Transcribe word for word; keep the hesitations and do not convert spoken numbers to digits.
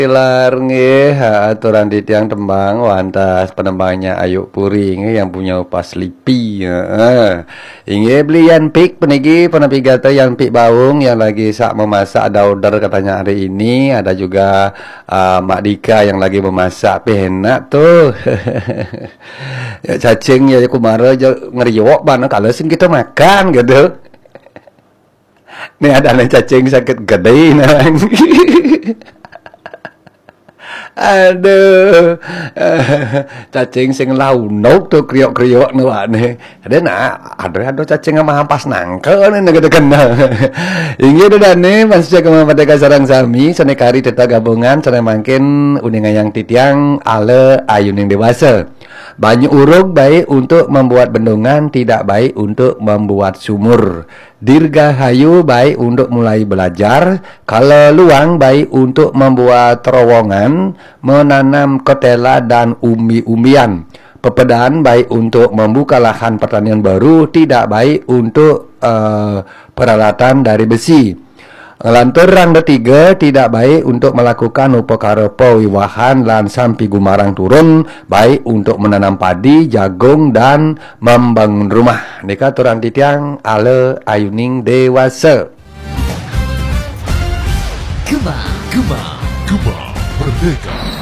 Tilar nggih, ha, aturan titiang tembang wantah penembangnya Ayu Puri nggih yang punya Upas Lipi. Heeh. Inggih beli Yan Pik peniki penampi gata Yan Pik Baung yang lagi sak memasak ada order katanya hari ini, ada juga uh, Mak Dika yang lagi memasak pih enak tuh. Ya cacing ya kumara je ngeriok bana kalau sing kita makan gitu. Nih ada nih cacing sakit gede nah. Aduh. Cacing sing launuk tuh kriok-kriok nih wak nih. Ada nak, ada ada cacing sama hampas nangke nih negede kena. Inggih deh nih masih jaga merdeka sarang sami seni kari teta gabungan seni mangkin uning ayang titiang ale ayuning dewasa. Banyu urug baik untuk membuat bendungan, tidak baik untuk membuat sumur. Dirgahayu baik untuk mulai belajar, kalau luang baik untuk membuat terowongan, menanam ketela dan umbi-umbian. Pepedan baik untuk membuka lahan pertanian baru, tidak baik untuk uh, peralatan dari besi. Ngelantur rang ketiga tidak baik untuk melakukan upakara pawiwahan lan sampi gumarang turun, baik untuk menanam padi, jagung dan membangun rumah. Nika aturan titiang ala ayuning dewasa. Gema, Gema, Gema Merdeka.